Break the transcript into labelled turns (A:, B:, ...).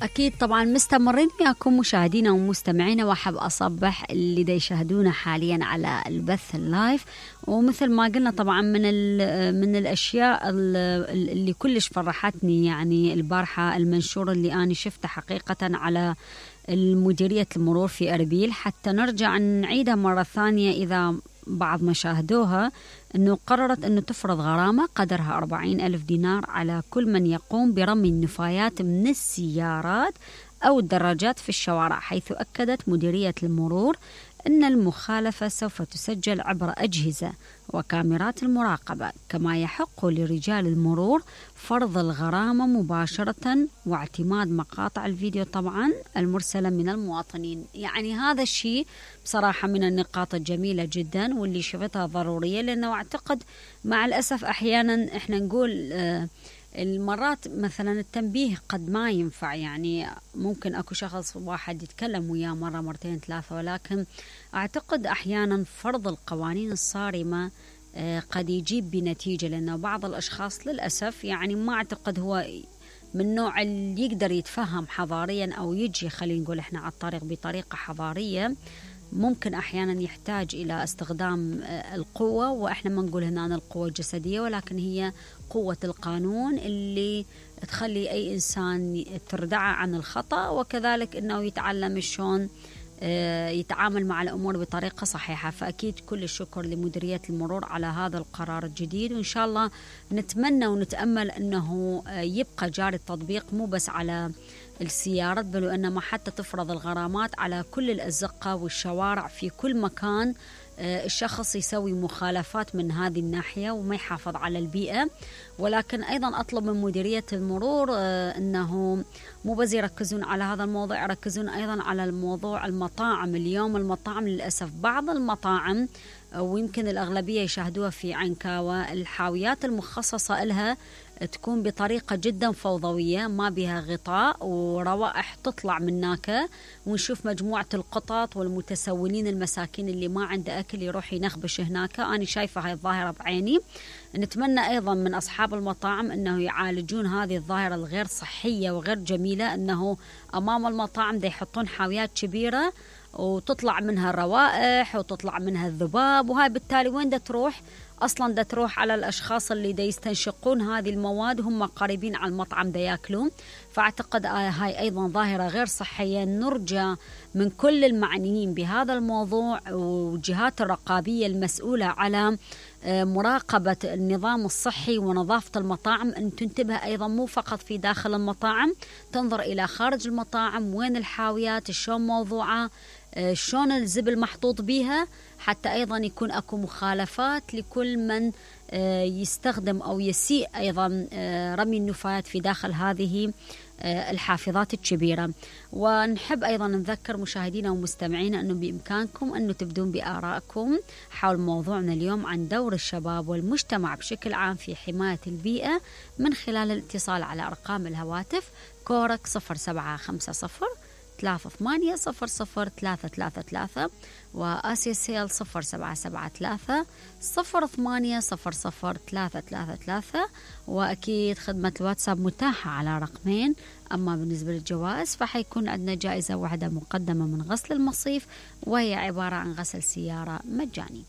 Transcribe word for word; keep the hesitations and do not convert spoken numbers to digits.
A: أكيد طبعا مستمرين وياكم مشاهدينا ومستمعينا، وأحب أصبح اللي دا يشاهدونا حاليا على البث اللايف. ومثل ما قلنا طبعا من من الأشياء اللي كلش فرحتني يعني البارحة المنشور اللي أنا شفته حقيقة على المديرية المرور في أربيل، حتى نرجع نعيدها مرة ثانية إذا بعض ما شاهدوها، أنه قررت أنه تفرض غرامة قدرها أربعين ألف دينار على كل من يقوم برمي النفايات من السيارات أو الدراجات في الشوارع، حيث أكدت مديرية المرور أن المخالفة سوف تسجل عبر أجهزة وكاميرات المراقبة، كما يحق لرجال المرور فرض الغرامة مباشرة واعتماد مقاطع الفيديو طبعا المرسلة من المواطنين. يعني هذا الشيء بصراحة من النقاط الجميلة جدا واللي شفتها ضرورية، لأنه أعتقد مع الأسف أحيانا إحنا نقول آه المرات مثلا التنبيه قد ما ينفع، يعني ممكن أكو شخص واحد يتكلم وياه مرة مرتين ثلاثة، ولكن أعتقد أحيانا فرض القوانين الصارمة قد يجيب بنتيجة، لأنه بعض الأشخاص للأسف يعني ما أعتقد هو من نوع اللي يقدر يتفهم حضاريا أو يجي خلينا نقول إحنا على الطريق بطريقة حضارية. ممكن أحيانا يحتاج إلى استخدام القوة، وإحنا ما نقول هنا القوة الجسدية، ولكن هي قوة القانون اللي تخلي أي إنسان تردعه عن الخطأ، وكذلك أنه يتعلم شلون يتعامل مع الأمور بطريقة صحيحة. فأكيد كل الشكر لمديرية المرور على هذا القرار الجديد، وإن شاء الله نتمنى ونتأمل أنه يبقى جاري التطبيق مو بس على السيارات، بل وإنما حتى تفرض الغرامات على كل الأزقة والشوارع في كل مكان الشخص يسوي مخالفات من هذه الناحية وما يحافظ على البيئة. ولكن أيضا أطلب من مديرية المرور أنه مو بس يركزون على هذا الموضوع، يركزون أيضا على الموضوع المطاعم. اليوم المطاعم للأسف بعض المطاعم ويمكن الأغلبية يشاهدوها في عنكاوة، الحاويات المخصصة لها تكون بطريقة جدا فوضوية، ما بها غطاء وروائح تطلع من هناك، ونشوف مجموعة القطط والمتسولين المساكين اللي ما عنده أكل يروح ينخبش هناك. أنا شايفة هاي الظاهرة بعيني. نتمنى أيضا من أصحاب المطاعم أنه يعالجون هذه الظاهرة الغير صحية وغير جميلة، أنه أمام المطاعم دا يحطون حاويات كبيرة وتطلع منها الروائح وتطلع منها الذباب، وهاي بالتالي وين دا تروح؟ أصلا دا تروح على الأشخاص اللي دا يستنشقون هذه المواد هم قريبين على المطعم دا يأكلون. فأعتقد هاي أيضا ظاهرة غير صحية. نرجى من كل المعنيين بهذا الموضوع والجهات الرقابية المسؤولة على مراقبة النظام الصحي ونظافة المطاعم أن تنتبه أيضا مو فقط في داخل المطاعم، تنظر إلى خارج المطاعم وين الحاويات شلون موضوعة، شلون الزبل محطوط بيها، حتى أيضا يكون أكو مخالفات لكل من يستخدم أو يسيء أيضا رمي النفايات في داخل هذه الحافظات الكبيرة. ونحب أيضا نذكر مشاهدينا ومستمعينا أنه بإمكانكم أنه تبدون بآرائكم حول موضوعنا اليوم عن دور الشباب والمجتمع بشكل عام في حماية البيئة من خلال الاتصال على أرقام الهواتف كورك صفر سبعة خمسة صفر ثلاثة ثمانية صفر صفر ثلاثة ثلاثة ثلاثة وآسيا سيل صفر سبعة سبعة ثلاثة صفر ثمانية صفر صفر ثلاثة ثلاثة ثلاثة. وأكيد خدمة الواتساب متاحة على رقمين. أما بالنسبة للجوائز فحيكون عندنا جائزة واحدة مقدمة من غسل المصيف، وهي عبارة عن غسل سيارة مجاني.